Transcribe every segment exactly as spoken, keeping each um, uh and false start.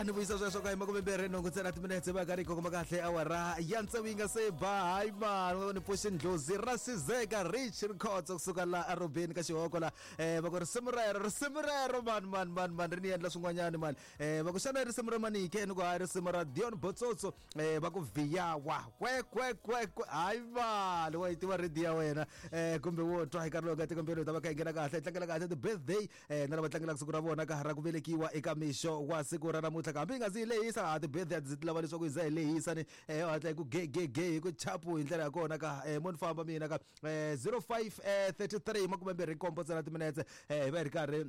Ya ni vuyisa sweswo ka hi makume mbirhi nhungu ntsena timinetse va karhi kongoma kahle awara ya tsevu yi nga se ba. Hayi mani, ni pfuxi ndlozi ra Sizeka Rich Rikhotso kusuka la arobeni ka xihoko la. um va ku risimu rero, risimu rero mani mani mani mani ri ni endla swin'wanyani mani. um va ku xana risimu ra manike? Ni ku hayi, risimu ra Dion Botsotso. um va ku viyawa kwe kwe kwe kwe. Hayi mani, wa yi tiva redi ya wena um kumbe wo twa hi nkarhi lowu nga tikombeni hi ta va kha hi nghena kahle hi tlangela kahle ti-birthday um na lava tlangelaka siku ra vona ka ra ku velekiwa eka mixo wa siku ra namuntlha. Hambi hi nga zi hi lehisa, a ti-birthday a ti lava leswaku hi za hi lehisa ni um hatla hi ku ge ge ge hi ku chapu hi ndlela ya kona ka um mo ni famba mina ka um zero five thirty three makume mbirhi nkombo ntsena timinetse um hi va hi ri karhi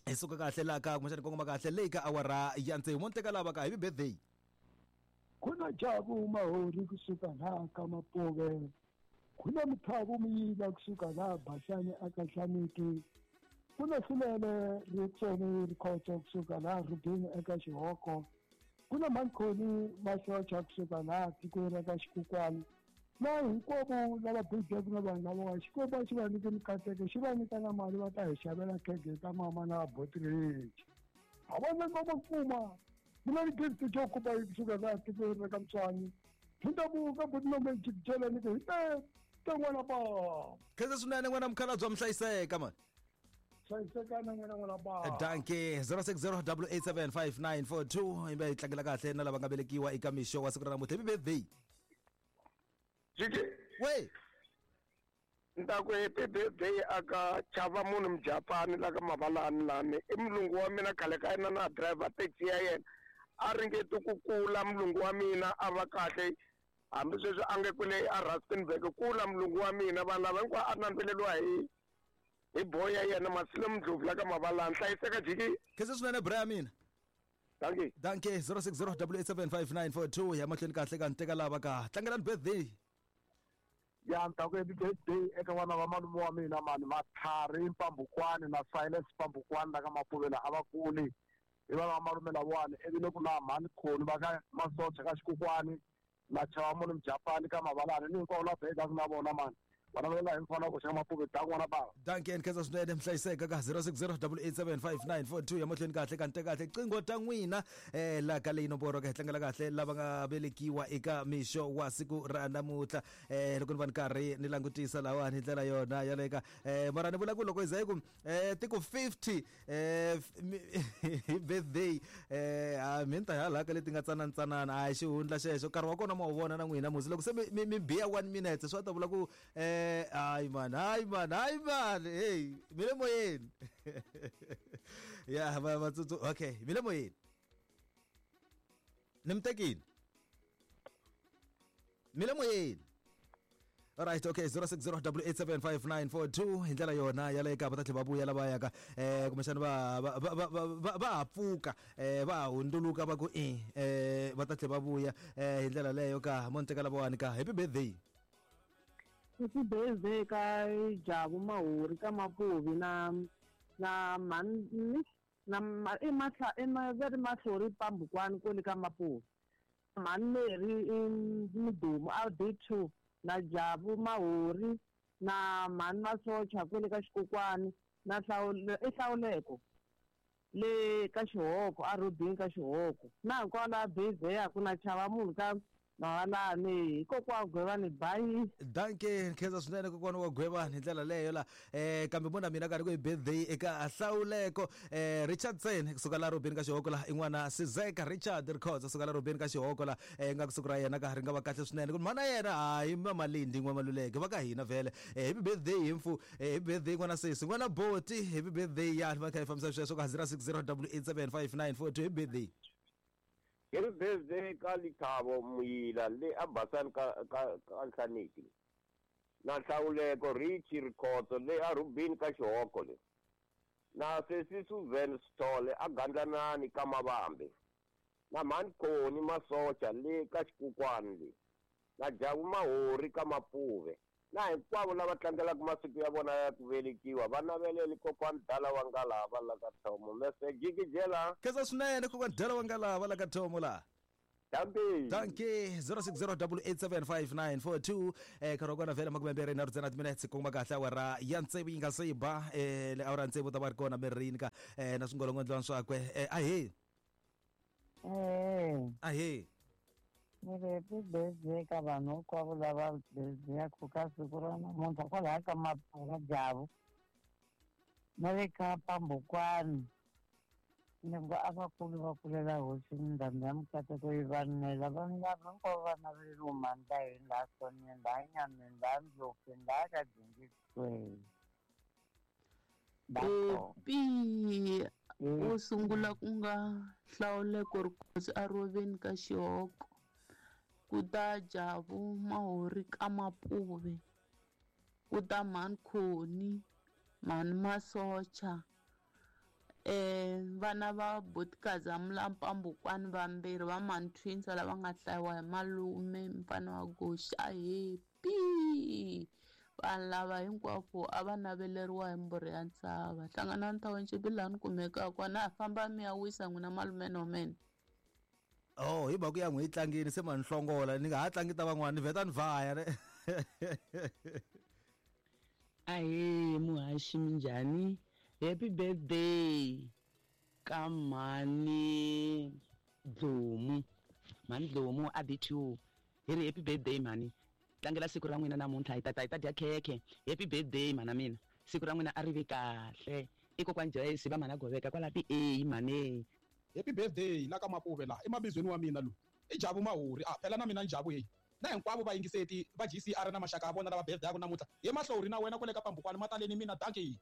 hi suka kahle laha ka kumbexana kongoma kahle leyi ka awara ya tsevu. Mo ni teka lava ka happy birthday. Kuna Jabu Mahori kusuka laha ka Mapove, kuna Muthavu Muyila kusuka laha Basani aka Hlaniki, kuna Hlulele Ritsoni Rikhotso kusuka laha Rubini eka Xihoko, kuna Mankhoni Masocha kusuka laha tikweni ra ka Xikukwani, na hinkwavo lava birthday na vanhu lavawa Xikwembu a xi va nyike mikateko, xi va nyika na mali va ta hi xavela khege ta mama na botiriji. Ha vona ngoma kuma mina ni gift jo kuba kusuka laha tikweni ra ka Mtswani hi ndavuka butinome jikijela ni ku hi te te n'wana ba. Khensa swinene n'wana mukhalabye wa mihlayiseka mani. Hlayisekana n'wina n'wana ba. Danke. Zero six zero double eight seven five nine four two hi va hi tlangela kahle na lava nga velekiwa eka mixo wa siku ra namuntlha. Happy birthday. Jiki. We. Ni ta ku happy birthday aka chava munhu Mujapani la ka Mavalani lani. I mulungu wa mina khale ka yena na driver taxi ya yena. A ringeti ku kula mulungu wa mina a va kahle. Hambi sweswi a nge kule a Rustenburg kula mulungu wa mina vanhu lava hinkwavo a nandzeleriwa hi hi boy ya yena Masile Mdlovu la ka Mavalani. Hlayiseka Jiki. Khensa swinene bra ya mina. Dankie. Danke. Zero six zero double eight seven five nine four two ya mahlweni kahle ka ni teka lava ka tlangelani birthday. Ya ni ta ku happy birthday eka vana va malume wa mina mani Matlhari Mpambukwani na Silas Mpambukwani la ka Mapuvela a va kuli hi vana va malume lavawani. Ivi le ku na mhani Khoni va ka Masocha ka Xikukwani na chava munhu Mujapani ka Mavalani ni hinkwavo lava bekaka na vona mani vana va la hi mfana ku xa Mapuve ta n'wana bava. Danke, ni khensa swinene mihlayiseka ka zero six zero double eight seven five nine four two ya mahlweni kahle ka ni teka kahle qingho ta n'wina um la ka leyi nomboro ka hi tlangela kahle lava nga velekiwa eka mixo wa siku ra namuntlha. um loko ni va ni karhi ni langutisa lawani hi ndlela yona yaleyo ka um mara ni vula ku loko hi za hi ku um ti ku fifty um hi birthday um mi ni ta hala ka leti nga tsananatsanana a hi xihundla xexo nkarhi wa kona ma wu vona na n'wina musi loko se mi mi mi biya one minute swi va ta vula ku um hayi man, hayi man, hayi man, hey mi le moyeni ya va vatsutsu. Okay, mi le moyeni ni mi tekile mi le moyeni. Alright, okay, zero six zero double eight seven five nine four two hi ndlela yona yaleyo ka va ta tlhela va vuya lava yaka um kumbexana va va va va va va ha pfuka um va ha hundzuluka va ku i um va ta tlhela va vuya um hi ndlela leyo ka mo ni teka lavawani ka happy birthday. Happy birthday ka Jabu Mahori ka Mapuvi na na mani na i mahla i ma va ri Mahlori Pambukwani kwale ka Mapuvi. Mhani Mary i Mudumu a D two na Jabu Mahori na mhani Masocha kwale ka Xikokwani na Hlawule i Hlawuleko le ka Xihoko a Rubini ka Xihoko na hinkwavo lava birthday-aku na chava munhu ka Mavalani hikokwalaho Gwevani bayi. Danke, khensa swinene kokwana wa Gwevani hi ndlela leyo la. um kambe mona mina karhi ku hi birthday eka Hlawuleko um Richardson kusuka la Rubini ka Xihoko la i n'wana Sizeka Richard Rikhotso kusuka la Rubini ka Xihoko la um nga kusuku ra yena ka ri nga va kahle swinene ku mhana yena hayi Mamalindi n'wamaluleke va ka hina vhele. Happy birthday hi mfu, happy birthday n'wana sesi n'wana boti, happy birthday ya va kha hi fambisa sweswo ka zero six zero double eight seven five nine four two. Happy birthday. Happy birthday ka Lithabo Muyila le a Basani ka ka ka Nhlaniki na Hlawuleko Rich Rikhotso le a Rubini ka Xihoko le na sesi Suzan Sithole a Gandlanani ka Mavambe na mhani Khoni Masocha le ka Xikukwani le na Jabu Mahori ka Mapuve na hinkwavo lava tlangelaka masiku ya vona ya ku velekiwa va naveleli kokwani Dala wa Ngalava la ka Thomo. Mese jikijela. Khensa swinene kokwani Dala wa Ngalava la ka Thomo la. Danke. Danke. Zero six zero double eight seven five nine four two eh nkarhi wa kona vhele makume mbirhi nharhu ntsena timinetse kongoma kahle awara ya tsevu yi nga se yi ba eh le awara tsevu ta va ri kona mirini ka eh na swingolongondlwana swakwe eh ahee. Ahe. Ni ri happy birthday ka vanhu hinkwavo lava birthday-aku ka siku ra namuntlha kwalaya ka Mapfura Javu na le ka Pambukwani. Ni ngo a vakulu va kulela hosi ndhambi ya mikateko yi va nela vanhu lava hinkwavo va naveleriwe mhani ta hina laha Soneni, laha Nyameni, laha Ndlopfeni, laha ka Dingitweni. Happy wo sungula ku nga Hlawuleko Rikhosi aroveni ka Xihoko, ku ta Javu Mahori ka Mapuve, ku ta Mhani Khoni, Mhani Masocha, eh vana va Botikaza Mulampambukwani vambirhi va Mhani Twins lava nga hlayiwa hi malume mfana wa Goxa. Happy vanhu lava hinkwavo a va naveleriwa hi mbhuri ya ntshava. Hlanganani Township laha ni kumekaka kona, ha famba mi ya wisa n'wina malume nomene. Oh, hi mhaka ya n'wi yi tlangini se ma ni hlongola ni nga ha tlangi ta van'wana ni vheta ni vhaya ne. Ahee muhaxi minjhani? Happy birthday ka mhani Dlomu. Mhani Dlomu a B two. Hi ri happy birthday mhani. Tlangela siku ra n'wina namuntlha hi tata hi ta dya khekhe. Happy birthday mhana mina. Siku ra n'wina a ri vi kahle. I kokwani Joyce va mhana Goveka kwala ti A mhani. Happy birthday la ka Mapuve la emabizweni wa mina lowu. I Javu Mahori. Ah phela na mina Njavu heyi. Na hinkwavo vayingiseti va G C R na maxaka ya vona lava birthday ya ku namuntlha. Ye Mahlori na wena kwale ka Pambukwani mataleni mina dankie.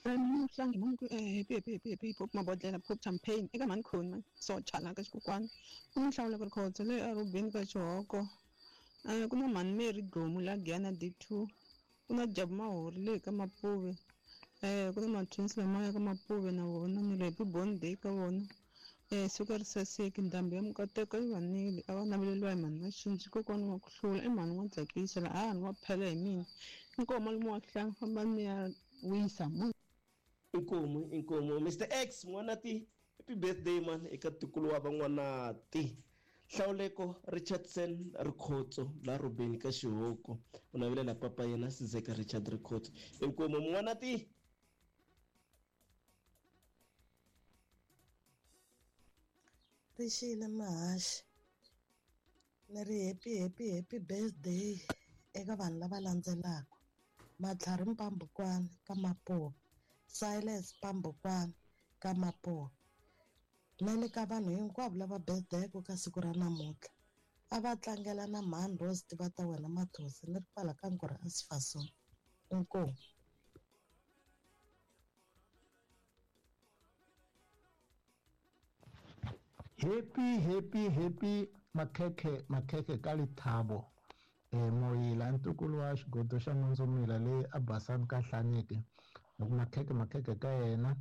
Mhlangi mungu eh happy happy happy happy pop mabodlela pop champagne eka mhani Khoni man socha la ka xikokwani ku na Nhlawuleko Rikhotso leyi a Rubeni ka Xihoko, eh ku na mhani Mary Dlomu la Giyani D two, ku na Jabu Mahori leyi ka Mapuve, eh ku na ma-twins lamaya ka Mapuve na vona ni ri happy birthday ka vona. Eh siku ri saseki ndhambi ya mikateko yi va nile a va naveleriwa hi mhani Maxinji kokwani wa ku hlula i mhani wa tsakisa laha ni wa phela hi mina inkomu malume wa hlanga famba ni ya wisa munhu. Inkomu inkomu Mister X n'wanati happy birthday man eka ntukulu wa van'wanati Hlawuleko Richardson Rikhotso la Rubeni ka Xihoko u navelela papa yena Sizeka Richard Rikhotso. Inkomu n'wanati. Rixile Mahaxi ni ri happy happy happy birthday eka vanhu lava landzelaka: Matlhari Mpambukwani ka Mapuve, Silas Pambukwani ka Mapuve, na le ka vanhu hinkwavo lava birthday-ku ka siku ra namuntlha. A va tlangela na mhani Rose tiva ta wena Mathosi ni ri kwala ka Ngorha Asifasoni. Inkomu. Happy happy happy makhekhe makhekhe ka Lethabo eh Moyila ntukulu wa xigodo xa Nondzomila leyi a Basani ka Hlaniki. Loko makhekhe makhekhe ka yena,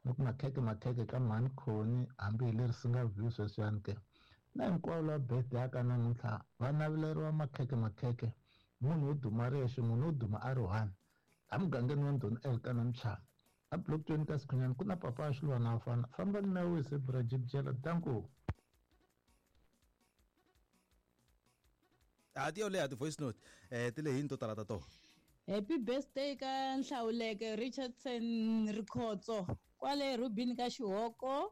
loko makhekhe makhekhe ka mhani Khoni hambi hi leri singa view sweswiyani ke. Na hinkwavo lava birthday ya ka namuntlha va naveleriwa makhekhe makhekhe. Munhu wo duma rexe, munhu wo duma a ri one. La mugangeni wa Ndhuna Elkana Mchana. A block twenty ka Sikhunyani ku na papa wa Xilwana fana. Fambani na wise bra Jibjela danko. A ti yo leha ti voice note eh ti lehi to tala ta to. Happy birthday ka Nhlawuleke Richardson Rikhotso kwale Rubini ka Xihoko.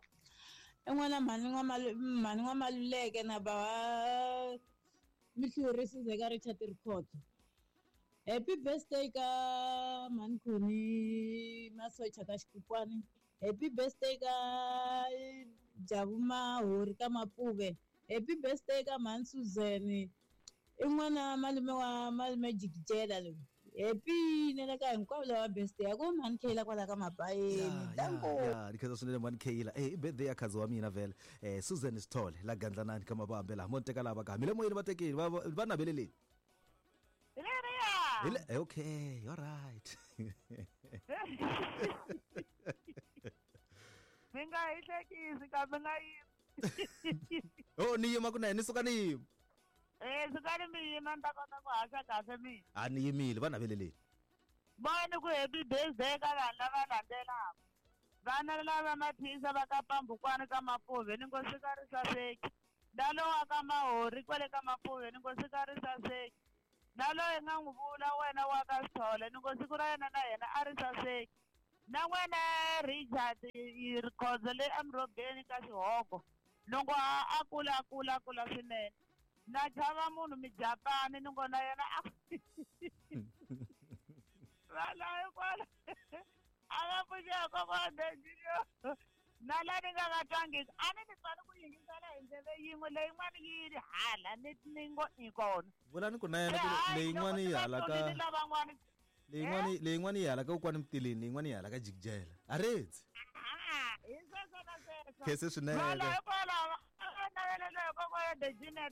En'wana mhani mhani N'wamaluleke na bava Mihluri Sizeka Richard Rikhotso. Happy birthday ka mhani Khoni Masocha ka Xikokwani. Happy birthday ka Javu Mahori ka Mapuve. Happy birthday ka mhani Suzanne i n'wana malume wa malume Jikijela loyi. Happy nele ka hinkwavo lava birthday ya ku mhani Khayila kwala ka Mabayeni. Danko. Ya, ni khensa swinene mhani Khayila. Eh i birthday ya khazi wa mina vhele. Eh Susan Sithole la Gandlanani ka Mabambe laha mo ni teka lava ka mi le moyeni va tekile va va naveleleni. Hi le okay, all right. Mi nga hi hlekisi kambe nga yimi. Oh ni yima kunene ni suka ni yima. Eh sukani mi yima ni ta kota ku haxa kahle mina. A ni yimile va naveleleni. Voni ku happy birthday ka vanhu lava landzelaka. Vana lava maphisa va ka Pambukwani ka Mapuve ni ngo sika ri saseki. Ndalo wa ka Mahori kwale ka Mapuve ni ngo sika ri saseki. Na loyi nga n'wi vula wena wa ka Sithole ni ngo siku ra yena na yena a ri saseki. Na wena Richard Rikhotso le eMurhobeni ka Xihoko Ni ngo a a kula a kula a kula swinene. Na chava munhu mijapani ni ngo na yena a vala hikwala a va pfuxeka kokwana Junior. Na la ni nga va twangiki a ni ni tswani ku yingisela hi ndleve yin'we leyin'wana yi ri hala ni ni ngo i kona. Vulani ku na yena ku leyin'wana yi hala ka ni lavan'wana leyin'wana leyin'wana yi hala ka kokwani Mtileni, leyin'wana yi hala ka Jikijela. Aredzi. Ah, hi sweswo na sweswo. Khense swinene. Vala hikwalaho a va navelela hi kokwana Junior.